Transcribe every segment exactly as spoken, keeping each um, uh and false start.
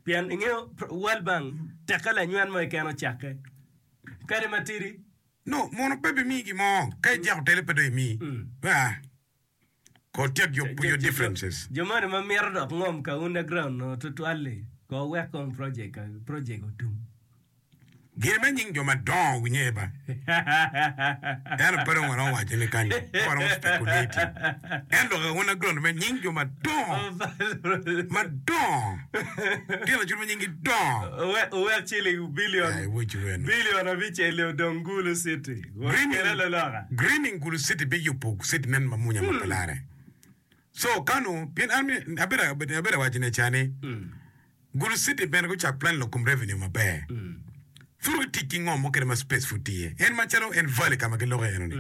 Pien ingeyo World Bank tekke lanywen mo keken ocakke. Kadi matidi. No, mono pe bimiyi gin mo. Ka ijako tele pe dong imiyi. Ah. Ko tyek your, your differences. Jo moni ma mito dok ngom ka underground no tutwal-li ko wek kong project project otum. Gin me nying jo madongo winye ba. Ento pe dong waromo waco ni kany pe waromo speculating. Ento lok underground me nying jo madongo madongo tyen lacul ma nyinggi dongo. Owek ciling billion Ai, wucu weno. billion abicel odong Gulu City. Kele loloka. Greening Gulu City biyubo city nen mamunya ma pe lare. So kanu pien an mi- abedo abedo awaco ne cani Gulu City bene gucak plan lok kom revenue maber. Pud gitic ki ngom mukene ma space pud tye. En macalo en valley ka ma giloko iye eno-ni.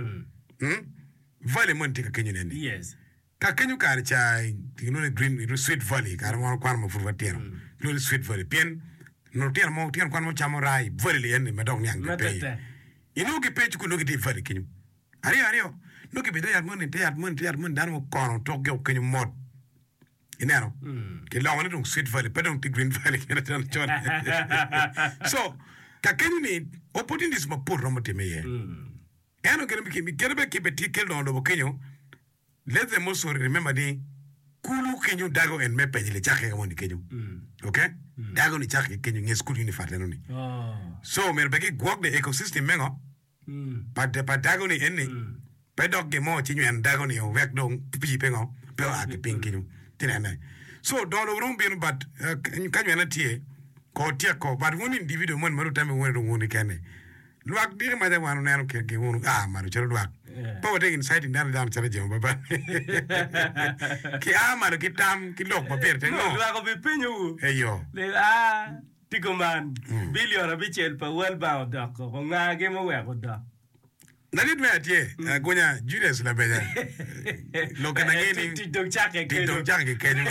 Hmm? Valley moni tye ka kenyo neni. Yes. Ka kenyo kare ca gilwongo ni Green Sweet Valley kare ma wan wakwano ma pud watino. Gilwongo ni Sweet Valley pien onongo lutino mo lutino kwan mo camo raa i valley li eni ma dok niang Ma gipe iye. tetek. Inongo gipe i cukul nongo gitye i valley kenyo. Aryo aryo nongo gibedo te yat moni te yat moni te yat moni dano mukono tokgi o kenyo mot. Ineno? Kiloko ni dong Sweet Valley pe dong tye Green Valley kene calo con. So ka kenyo ni opportunities mapol romo timme iye. Ento kene kene bene kibe tye kelo dongo lobo kenyo let them also remember ni kulu kenyo dago en me penyo licake ka moni kenyo. Okay? Dago ni cake ki kenyo nge school unifat eno ni. So myero be gigwok the ecosystem me ngo? Pa pa dago ni eni pe dok gin mo ci nyweno dago ni wek dong pii pe ngo pe oa ki piny kenyo ci nene so dongo dong romo bino but ka nywene tye ko tyeko but wun individual moni ma dong wutame wun dong wun kene lwak diki maca wan oneno kit gi wun oa malo calo lwak pe watye inciting dano dano calo jemo baba ki a malo ki tam ki lok ma pire tek no Lwak obipenyowu eyo ni a tye kuman bilion abicel pa World Bank odok koko ngagi muweko odok. Ladit me atye agonya Julius Labeja lokke na nge ni Tic dong cakke tic dong kenyo. cakke ki kenyo.